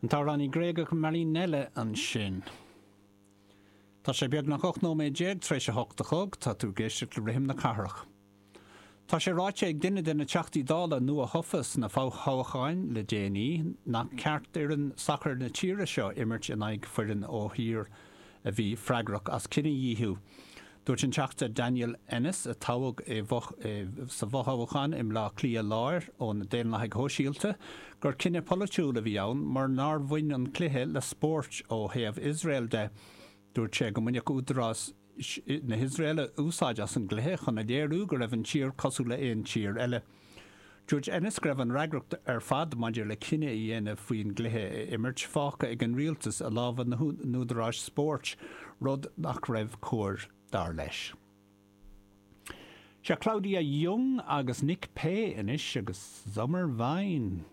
An t-amhránaí Gréagach Marinella ansin. Tá sé beagnach 18 nóiméad tar éis a hocht a chlog, tá tú ag éisteacht le Rithim na Cathrach. Tá sé ráite ag duine de na Teachtaí Dála nua-thofa sna fothoghcháin le déanaí nach ceart d'fhoireann sacair na tíre seo imirt in aghaidh foireann ó thír a bhí freagrach as cinedhíothú. Dúirt an Teachta Daniel Ennis, a toghadh sa bhfothoghchán i mBleá Cliath Láir ó na Daonlathaigh Shóisialta, gur cinneadh polaitiúil a bhí ann mar nár bhain an cluiche le spórt ó thaobh Iosrael de. Dúirt sé go mbainfeadh údaráis na hIosraeile úsáid as an gcluiche chun a léiriú go raibh an tír cosúil le haon tír eile. Dúirt Ennis go raibh an fhreagracht ar fad maidir le cinneadh a dhéanamh faoin gcluiche a imirt fágtha ag an rialtas i lámha na n-údaráis spóirt, rud nach raibh cóir, dar leis. Seo Claudia Jung agus Nick Pay anois agus Sommerwein.